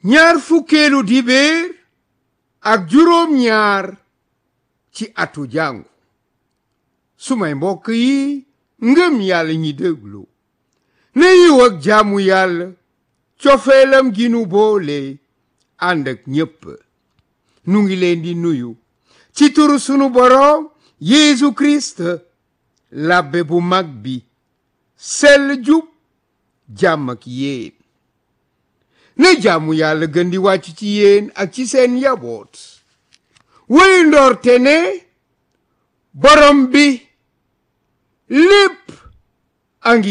ñaar fukkeelu dibéer ak juróom ñaar ci atu jàngu sumay mbokk yi ngëm yàlla ñi déglu na yiw ak jaamu yàlla cofeelam gi nu boole ànd ak ñépp nu ngi leen di nuyu ci turu sunu boroom Yeesu Kirist labbe bu mag bi sell jub jàmm ak yéen na jaamu yàlla gën di wàcc ci yéen ak ci seen njaboot woy ndoorte ne borom bi lépp a ngi